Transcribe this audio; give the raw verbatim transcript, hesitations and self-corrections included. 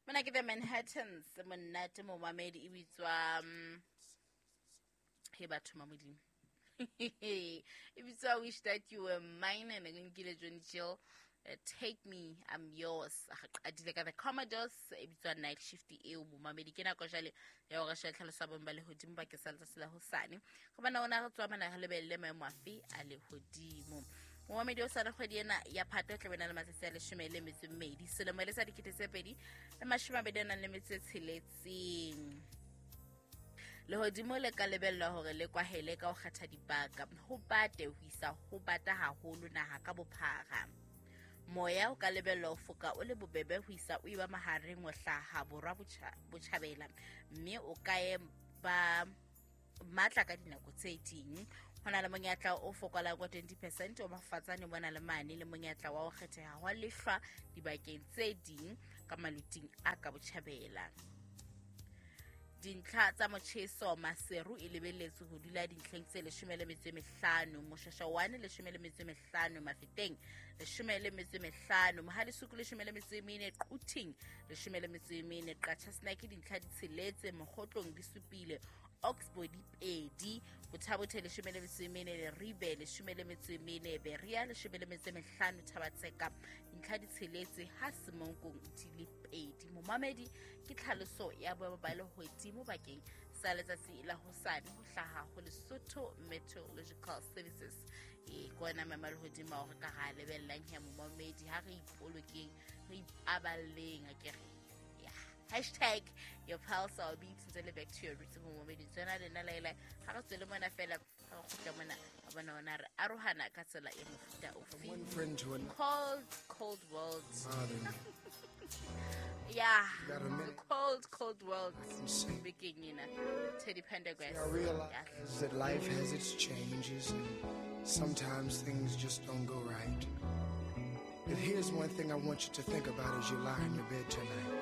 Mona ke the Manhattans, monate momamedi e bitswa um, he batho ma modimo. E bitswa Wish That You Were Mine, and nkile Johnny Chill. Uh, take me, I'm yours. Re qadile ka the Commodores, e bitswa Night Shift eo momamedi. Ke nako jwale ya hore shebe tlhaloso ya boemo ba lehodimo bakeng sa letsatsi la hosane. Go bona ona re tswa mana re lebelle maemo afe a lehodimo. Momamedi o sale kgwedi ena ya Phato e tla be na le matsatsi a leshome le metso e mmedi, selemo e le sa dikete tse pedi le mashome a mabedi a nang le metso e tsheletseng. Lehodimo le ka lebellwa hore le kwahele ka ho kgetha dibaka, ho bate ho isa ho bata haholo naha ka bophara. Moya o ka lebellwa ho foka o le bobebe ho isa o eba mahareng ho hlaha borwa botjhabela, mme o ka ba matla ka dinako tse ding. Ho na le monyetla o fokolang wa twenty percent o mafatsane bona le mane le monyetla wa ho kgetheha hwa lehlwa dibakeng tse ding ka maluting a ka botjhabela. Dintlha tsa motjheso Maseru e lebelletswe ho dula dintlheng tse leshome le metso e mehlano, Moshasha one leshome le metso e mehlano, Mafeteng leshome le metso e mehlano, Mohalesuku leshome le metso e mene, Quthing leshome le metso e mene, Qachasenake dintlha di tsheletse, Mokgotlong di supile, Oxbow di pedi, Botha-Bothe leshome le metso e mene, Leribe leshome le metso e mene, Berea leshome le metso e mehlano, Thabatseka dintlha di tsheletse, ha Semonkong di le pedi. Momamedi ke tlhaloso ya boemo ba lehodimo bakeng sa letsatsi la hosane ho hlaha ho Lesotho Meteorological Services. E ke ona maemo a lehodimo ao re ka ra lebellang ya momamedi, ha re ipolokeng, re ipaballeng akere. Yeah. Hashtag your pulse or beats ntse le back to your roots momamedi. Tsena le nna laela ha re tswele mona fela, ha re kgutla mona a bona ona re arohana ka tsela e mofuta ofe. One friend to another. Cold, cold world. Bother me. Yeah. Got a minute? The cold, cold world. I can see. Bekeng ena. Teddy Pendergrass. I realize Yeah. that life has its changes and sometimes things just don't go right. But here's one thing I want you to think about as you lie in your bed tonight.